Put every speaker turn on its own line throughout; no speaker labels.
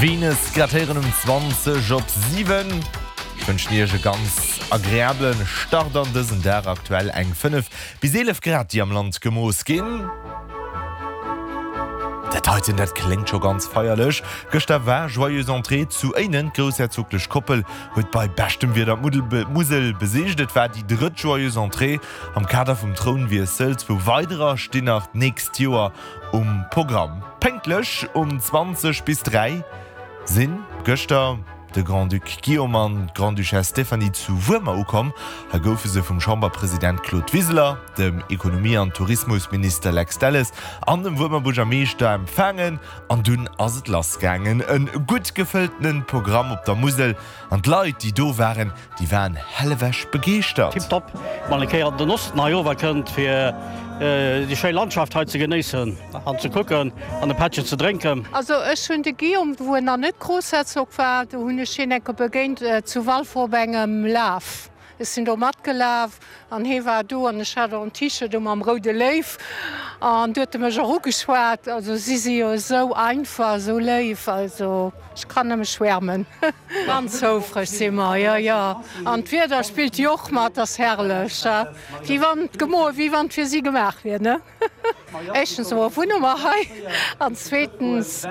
Venus grad héieren um 20 op 7. Ech wënschen Iech e ganz agreablen Start an dësen Dag. Aktuell eng 5 bis 11 Grad déi am Land gemooss ginn. Dat heiten, dat kléngt scho ganz feierlech. Gëschter war Joyeuse Entrée zu Éinen. D'groussherzoglech Koppel huet bei beschtem Wieder d'Musel besicht. Et war déi drëtt Joyeuse Entrée am Kader vum Trounwiessel. Zwou weiderer stinn nach d'nächst Joer um Programm. Pénktlech um 20 bis 3 sinn gëschter de Grand-Duc Guillaume an d'Grande-Duchesse Stéphanie zu Wuermer ukomm. Hei goufe se vum Chamberpresident Claude Wiseler, dem Ekonomie an Tourismusminister Lex Delles an dem Wuermer Buergermeeschter empfaangen. An dunn ass et lass gaangen. E gutt gefëlltene Programm op der Musel an d'Leit, déi do waren, Déi waren hellewech begeeschtert.
Tip top, mol eng Kéier an den Osten hei rower kënnt fir déi schéi Landschaft hei ze genéissen an ze kucken an e Pättchen ze drénken.
Also ech hunn de Guillaume, wou en nach net Groussherzog war, do hunn ech hien enker begéint zu Walfer op engem Laf. Ech sinn do matgelaf An hee war do an ech hat och en T-Shirt u mam roude Léiw an du huet e mech och ugeschwat. Also si si jo esou einfach, esou léif, also ech kann nëmme schwärmen. Ganz houfreg si mer, jo jo. An d'Wieder spillt jo och mat, ass herrlech, wéi wann d'Gemoe wéi wann et fir si gemaach wier, ne? Éischtens emol wunne mer hei an zweetens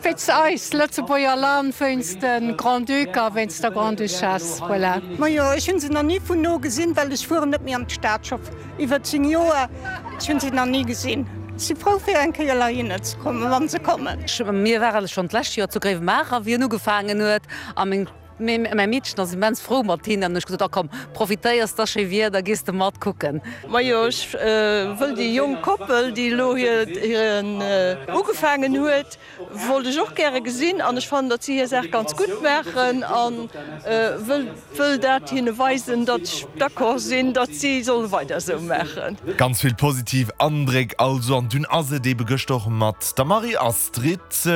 wéinst eis, Lëtzebuerger Land, wéinst de Grand-Duc a wéinst der Grande-Duchesse. Voilà.
Majo, ech hunn se nach ni vun no gesinn, well ech fueren net méi an d'Stad, scho iwwer 10 Joer. Ech hunn se nach ni gesinn. Ech si frou fir eng Kéier heihinner ze kommen, wa se kommen.
Mir ware schonn d'lescht Joer zu Gréiwemaacher, wéi en ugefaangen huet a meng. Mee mäi Meedchen ass immens frou mat hinnen an hu ech gesot, a komm, profitéiers da schéi Wieder, gees de mat kucken.
Majo, ech wëll déi jonk Koppel, déi elo hiren ugefaangen huet, wollt ech och gäre gesinn an ech fannen, datt si hir Saach ganz gutt maachen a wëll dat hinne weisen, datt ech d'accord sinn, datt si solle weider esou maachen.
Ganz vill positiv Andréck also an dunn ass et ebe gëschter och mat der Marie-Astrid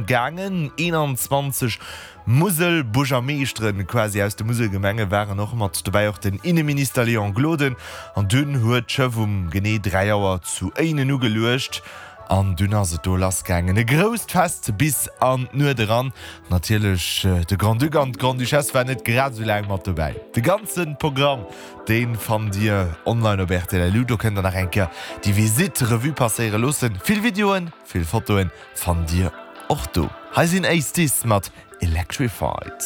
gaangen, 21 Musel-Buergermeeschteren quasi aus de Muselgemenge waren och mat dobäi, och den Inneminister Léon Gloden. An dunn huet d'Schëff um genee 3 Auer zu Éinen ugeluecht an dunn ass et do lass gaangen. E grousst Fest bis an d'Nuet eran. Natierlech de Grand-Duc an d'Grande-Duchesse waren net grad esou laang mat dobäi. De ganze Programm, dee fannt Dir online op rtl.lu. Do kënnt der nach eng Kéier déi Visitt Revue passéiere loossen. Vill Videoen, vill Fotoen fannt Dir och do. Hei sinn Ace Dis mat Electrified.